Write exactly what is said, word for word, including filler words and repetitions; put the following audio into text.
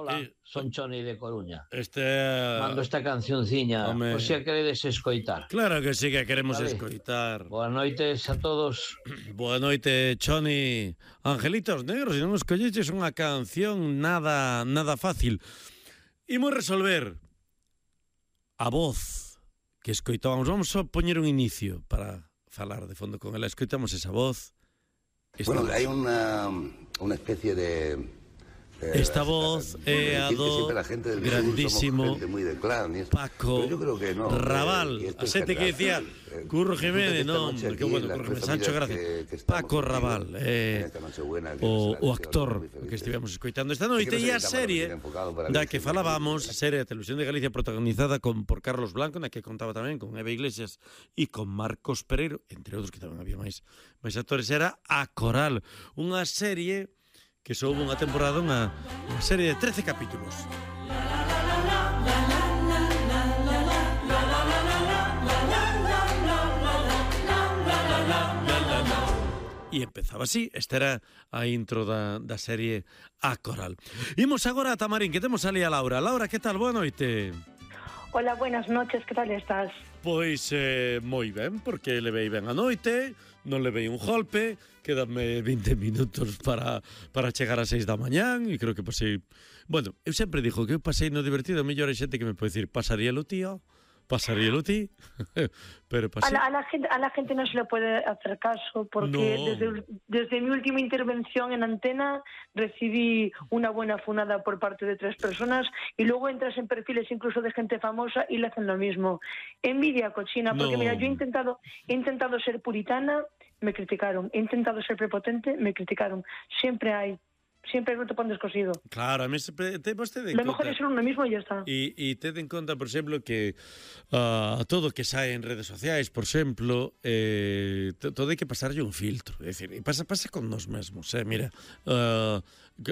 Hola, eh, son Choni de Coruña. Este... Mando esta cancionciña, Home. por se a queredes escoitar. Claro que sí que queremos Vale. escoitar. Boas noites a todos. Boa noite, Choni. Angelitos Negros, se non nos colleches unha canción nada nada fácil. Imos resolver a voz que escoitábamos. Vamos a poñer un inicio para falar de fondo con ela. Escoitamos esa voz. Esta Bueno, voz. hay una, una especie de... eh, Esta voz é a decir que do siempre la gente del sur grandísimo somos gente muy de clan y esto, Paco pero yo creo que no, Raval. eh, y esto A es xente que general. decía Eh, Curro disfruten Jiménez, esta non, noche porque aquí, bueno, las Curro tres Jiménez, Sancho familias Gracia. que- que estamos Paco contigo Raval, en eh, esta Nochebuena, que o, será o deseado, actor muy felices. que estivemos escoitando esta Sí noite que no e se a llama serie Bien enfocado para da Virgen, que falábamos, serie de Televisión de Galicia protagonizada con, por Carlos Blanco, na que contaba tamén con Eva Iglesias e con Marcos Pereiro, entre outros que tamén había máis, máis actores, era A Coral, unha serie que só houve unha temporada, unha, unha serie de trece capítulos. E empezaba así, esta era a intro da, da serie A Coral. Imos agora a Tamarín, que temos ali a Laura. Laura, que tal? Boa noite. Hola, buenas noches, que tal estás? Pois eh, moi ben, porque levei ben a noite, non levei un golpe, quédame vinte minutos para, para chegar a seis da mañán, e creo que pasei... Bueno, eu sempre dixo que eu pasei no divertido, mellor hai xente que me pode dicir, pasaríelo tío, pasaríelo ti, pero pasé... A la, a, la gente, a la gente no se le puede hacer caso porque No. desde, desde mi última intervención en antena recibí una buena funada por parte de tres personas y luego entras en perfiles incluso de gente famosa y le hacen lo mismo. Envidia cochina, porque No. mira, yo he intentado, he intentado ser puritana, me criticaron. He intentado ser prepotente, me criticaron. Siempre hay, siempre hay un tapón descosido. Claro, a mí sempre te vostede en Lo mejor conta. es ser uno mismo y ya está. E, e ted en conta, por exemplo, que uh, todo que sae en redes sociais, por exemplo, eh, todo hai que pasarlle un filtro. É dicir, e pasa, pasa con nos mesmos, eh? Mira, uh,